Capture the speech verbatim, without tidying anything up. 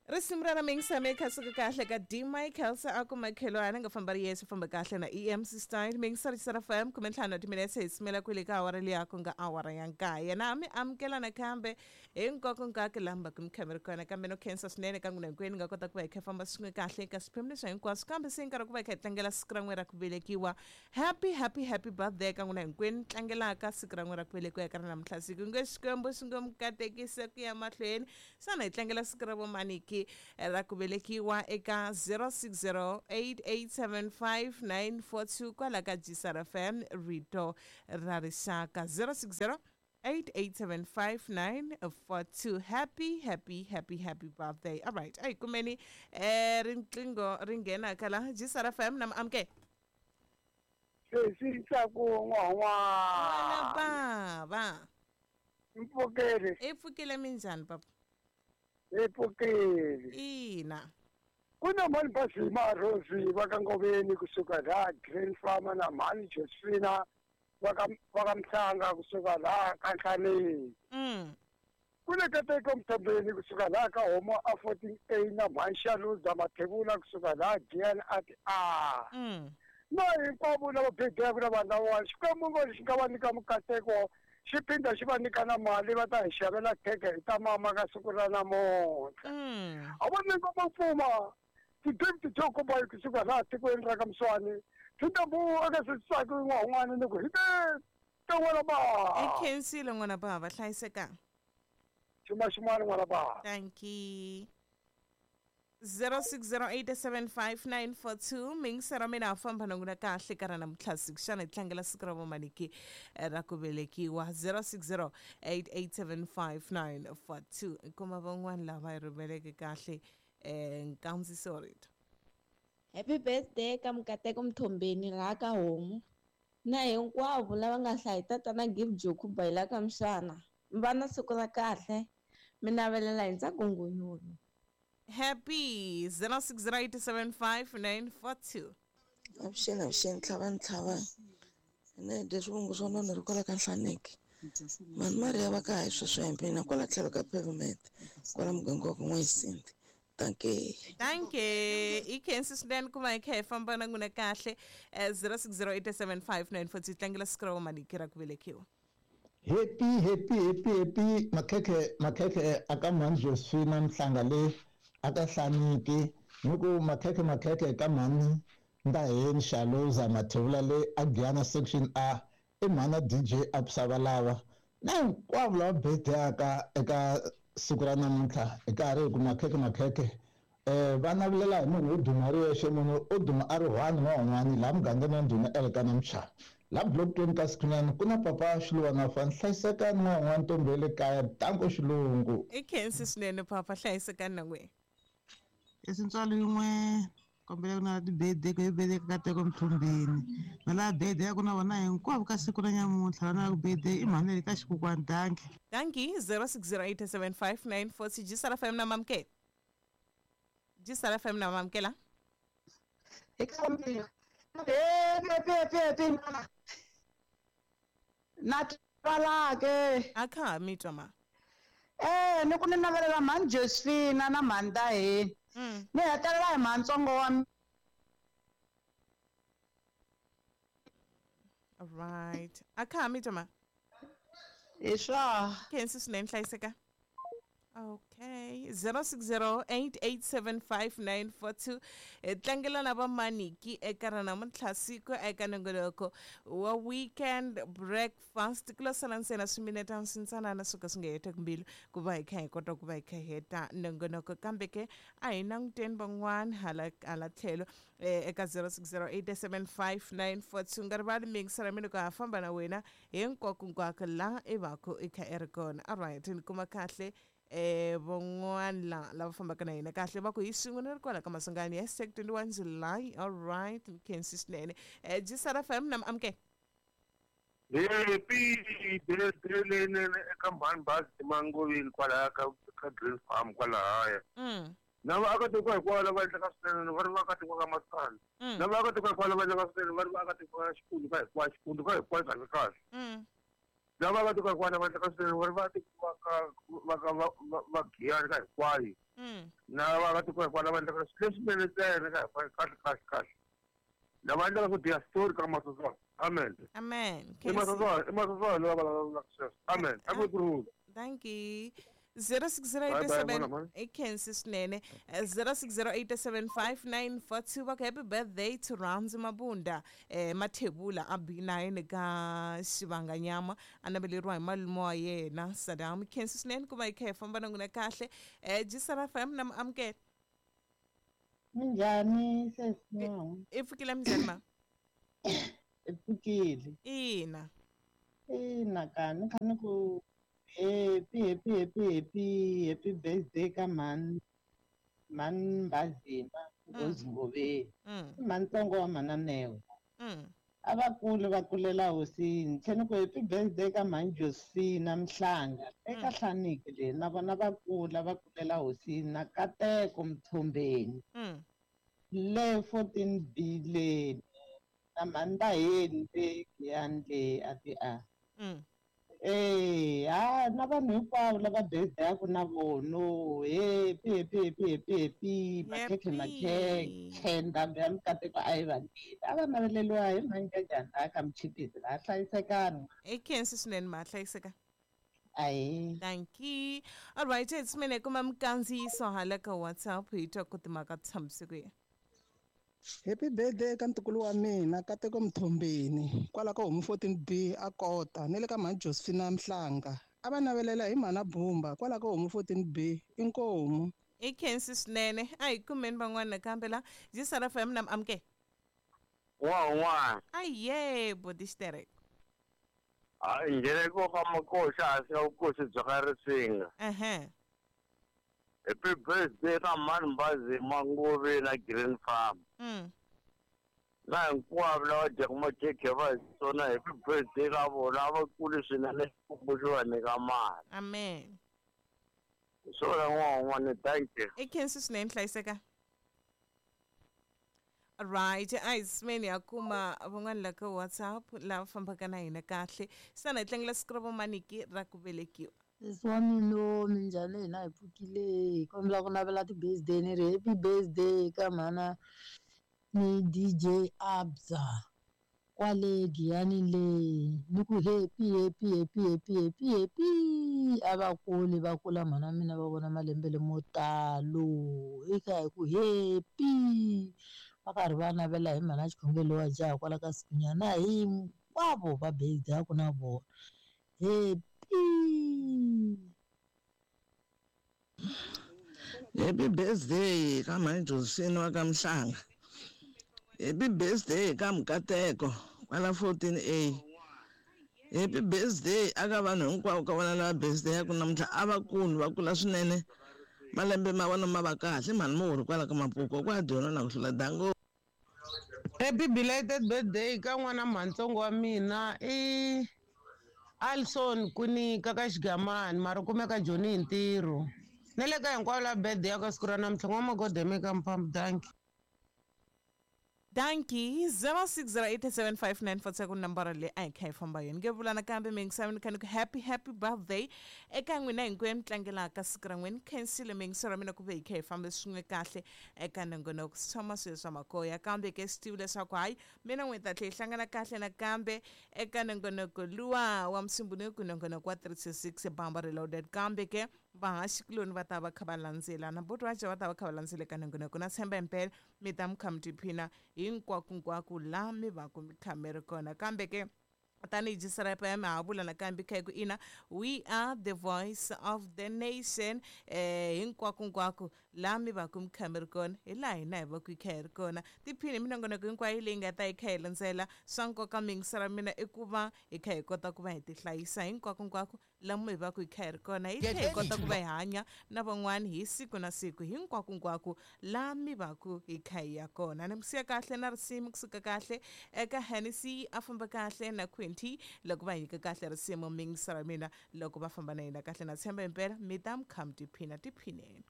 Risimu ra ramengisa me kha suka kahle ka D Michael se a ku makhelwana nga famba ri yesu famba kahle na E M C Style mingisa ri F M kume ntlhanu wa timinetse hi simela kwele ka awara liya ku nga awara ya nkaye na mi amukela nakambe hinkwako nkaka lamba ku mi kha mi ri kona kambe no khensa swinene ka n'wina hinkwenu nga kota ku va hi kha famba swin'we kahle ka swiphemu leswi hinkwaswo kambe se nkarhi ku va hi kha hi tlangela siku ra n'we ra ku velekiwa. Happy happy happy birthday ka n'wina hinkwenu tlangelaka siku ra n'we ra ku velekiwa eka ra namuntlha siku nge Xikwembu xi ngo mi katekisa ku ya mahlweni xana hi tlangela siku ra vomaniki ra ku velekiwa eka zero six zero eight eight seven five nine four two kwala ka G S R F M rito ra rixaka zero six zero eight eight seven five nine four two. Happy happy happy happy birthday. All right, ay kumeni eh riqingho ri nghena kala G S R F M na amke sesi tsaku n'wan'wa baba mpfukele i pfukile minjhani papa i pfukile ina kuna mani Basima Rosi va ka Ngoveni kusuka la Green Farm na mani Josephina va ka va ka Mhlanga kusuka la ka Nhlaneni mm kuna Kateko Mthombeni kusuka la ka Homo A fourteen A na mani Shaluza Mathebula kusuka la Gian at A mm na hinkwavo lava bebeka na vanhu lava Xikwembu ngo xi nga va nyika mukateko xi phinda xi va nyika na mali va ta hi xavela khekhe hi ta mama ka siku ra namuntlha a va nyika mapfuma ti-gift to komba hi kusuka laha tikweni ra ka Mswani Thindambu eka sesisaki n'wan'wana ni ku hi te te n'wana ba i khensile n'wana bava hlayiseka xuma xin'wana n'wana bava thank you zero six zero eight seven five nine four two mingisera mina a famba na n'wina kahle ka ra namuntlha siku xana hi tlangela siku ra vomaniki ra ku velekiwa zero six zero eight eight seven five nine four two kuma van'wana lava hi rhumeleke kahle eh nkandziso wa rito. Happy birthday ka Mukateko Mthombeni laha ka Homu na hinkwavo lava nga hlaya tatana Gift Jokuba hi la ka Mxana va na siku ra kahle mi navelela hi ntsako ngunyulu. Happy zero six zero eight seven five nine four two. Avuxeni avuxeni ntlhava ntlhava ene dya swivongo swa nona ri kwala ka Nhlaneki mani Maria va ka hi sweswo hi mina kwala tlhelo ka pavement kwala muganga wa ka N'wayisinti. Thank you. Thank you. I khensi swinene ku va hi kha hi famba na n'wina kahle zero six zero eight seven five nine four two tlangela siku ra vomaniki ra ku velekiwa. Happy happy happy happy makhekhe makhekhe aka mhani Josephina Mhlanga le aka Hlaniki ni ku makhekhe makhekhe ka mhani Ndaheni Shaluza Mathebula le a Giyana section A i mhana D J Absavalava na hinkwavo lava birthday-aka eka siku ra namuntlha hi karhi hi ku makhekhe makhekhe eh va navelela hi munhu wo duma ri yexe munhu o duma a ri one n'wan'wani laha mugangeni wa Ndhuna Elkana Mchava la block twenty ka Sikhunyana ku na papa Xiluwana fa hlayisekani n'wan'wana ntombi ya le kaya Danko Xilungu. I khensi swinene papa hlayisekani na n'wina. Esintswalo yin'we kombela ku na ti-birthday ku hi birthday ka Kateko Mthombeni na laha birthday ya ku na vona hinkwavo ka siku ra nyamuntlha vana va ku birthday i mhani leyi ka xikokwani danki. Thank you zero six zero eight seven five nine four six G S R F M na mamke G S R F M na mamkela eka mina happy happy happy na twalake akha mi twa ma eh ni ku ni navelela mhani Josephina na mhani Ndaheni ni hetelela hi mhantsongo wa. All right akha mi twa ma hi swa khensi swinene hlayiseka. Okay zero six zero eight eight seven five nine four two tlangela na vamaniki eka ra namuntlha siku eka nongoloko wa weekend breakfast ku lo sala ntsena swiminetana swintsanana swo ka swi nga heteki mbilu ku va hi kha hi kota ku va hi kha hi heta nongonoko kambe ke a hi languteni van'wana hala hala tlhelo eka zero six zero eight seven five nine four two nga rivali mingisela mina ku ha famba na wena hinkwako hinkwako laha i va ku i kha i ri kona. All right ni kuma kahle eh van'wana la lava fambaka na hina kahle va ku hi swin'we ni ri kwala ka Masungani hashtag twenty-one July. All right khensi swinene eh G S R F M na amke happy birthday leyinene eka mhani Bazi Mangoveni kwalaya ka ka Green Farm kwalahaya mm na vaakatiko hinkwavo lava endlaka swinene va ri vaakatiko ka Masana na vaakatiko hinkwavo lava endlaka swinene va ri vaakatiko ka Xikundu ka hinkwayo Xikundu ka hinkwayo kahle kahle mm Lava va tiko hinkwavo va endlaka swinene va tiko va ka va ka va Giyani ka hinkwayo. Na va tiko hinkwavo va endlaka leswinene ntsena ka hinkwayo kahle kahle kahle. Lava endlaka swo biha story ka Masoswana. Amen. Amen. I Masoswana, i Masoswana lava vulavulaka sweswo. Amen. A ku kurhula. Thank you. zero six zero eight seven I khensi swinene zero six zero eight seven five nine four two va ku happy birthday to Ramzi Mabunda eh Mathebula a B nine ka Xivanganyama a naveleriwa hi malume wa yena Saddam. Khensi swinene ku va hi kha hi famba na n'wina kahle. Eh Jisara F M na amukela. Minjhani sesi? I pfukile minjhani ma? I pfukile. Ina. Ina ka ni kha ni ku happy happy happy happy happy birthday ka mhani mhani Mbazima Nghozi Ngoveni. I mhani ntsongo wa mhana Newe. A va kuli va kulela hosini. Tlhela ni ku happy birthday ka mhani Josephina Mhlanga eka Hlaniki leyi na vona va kula va kulela hosini na Kateko Mthombeni le fourteen B le na mhani Ndaheni le Giyani le a ti a. Eh, ha na vanhu hinkwavo lava birthday-aku na vono. Happy happy happy happy happy makhekhe makhekhe ndhambi ya mikateko a yi vangile. A va naveleriwa hi mhani Njhani laha ka Muchipisi laha hlayisekani. I khensi swinene ma hlayiseka. Ayi. Thank you. All right, it's mina kuma mikandziyiso hala ka WhatsApp hi twa ku timhaka ti tshambise ku yini. Happy birthday ka ntukulu wa mina Kateko Mthombeni kwala ka Homu fourteen B a kota ni le ka mhani Josephina Mhlanga a va navelela hi mhana Bumba kwala ka Homu fourteen B inkomu. I khensi swinene a hi kumeni van'wana nakambe la Jisara F M na amukela. Wa wa. Aye bodi xitereko. A ngereko ka makoxa a swi vukosi bya ka Risinga. Ehe. Happy birthday ka mhani Mbazima Ngove na Green Farm. Mm. Na hinkwavo lava dyaka makhekhe va hi tsona happy birthday ka vona va kuli swinene Xikwembu xi va nyika mali. Amen. Hi swona n'wana un'wana thank you. I khensi swinene hlayiseka. Right, a hi simeni ya kuma van'wana la ka WhatsApp lava fambaka na hina kahle. Sana hi tlangela siku ra vamaniki ra ku velekiwa. Sesi wa mina minjhani hina hi pfukile hi kombela ku navela ti-birthday ni ri happy birthday ka mhana ni D J Abza kwale Giyani le ni ku happy happy happy happy happy happy a va kuli va kula mhana mina va vona malembe lemo talo hi kha hi ku happy va karhi va navela hi mhana xikhongelo wa jaha kwala ka Sikunyana hinkwavo va birthday ku na vona happy. Happy birthday ka mhani Josephine wa ka Mhlanga. Happy birthday ka Mkateko kwala fourteen A. Happy birthday aka vanhu hinkwavo ka vona lava birthday ya ku namuntlha a va kulu va kula swinene. Malembe ma vona ma va kahle mhani Muhuri kwala ka Mapuku kwa dyona na ku hlula dango. Happy belated birthday ka n'wana mhantsongo wa mina i Alson Kunika ka Xigamani mara kumeka Joni hi ntirho. Na le ka hinkwavo la birthday ya ka siku ra namuntlha n'wamagodeme ka mphambu danki. Danki zero six zero eight seven five nine four seven nambara leyi a hi kha hi famba yona nge vula nakambe mingisaveni kha ni ku happy happy birthday eka n'wina hinkwenu tlangelaka siku ra n'wina khensile mingiso ra mina ku ve hi kha hi fambe swin'we kahle eka nongonoko swi tshama swilo swa makoya kambe ke swi tivi leswaku hayi mina n'we ta tlhe hi hlangana kahle nakambe eka nongonoko luwa wa Musumbunuku nongonoko wa three six Bamba Reloaded kambe ke vahaxikuloni va ta va kha va landzelana botwaja va ta va kha va landzele ka nongonoko na tshemba impela mi ta mi kha mi tiphina hinkwakunkwako laha mi va ku mi kha mi ri kona kambe ke tanihi Jisara F M ha vula nakambe kha hi ku ina we are the voice of the nation eh hinkwakunkwako laha mi va ku mi kha mi ri kona hi laha hina hi va ku hi kha hi ri kona tiphini minongonoko hinkwayo leyi nga ta hi kha hi landzela swa nkoka mingisela mina i ku va hi kha hi kota ku va hi tihlayisa hinkwakunkwako lamu hi va ku hi kha hi ri kona hi tlhela hi kota ku va hi hanya na van'wani hi siku na siku hinkwakunkwako laha mi va ku hi kha hi ya kona ni mi siya kahle na risimu kusuka kahle eka Hennessy a famba kahle na Quinty loko va nyika kahle risimu mingisela mina loko va famba na hina kahle na tshemba impela mi ta mi kha mi tiphina tiphineni.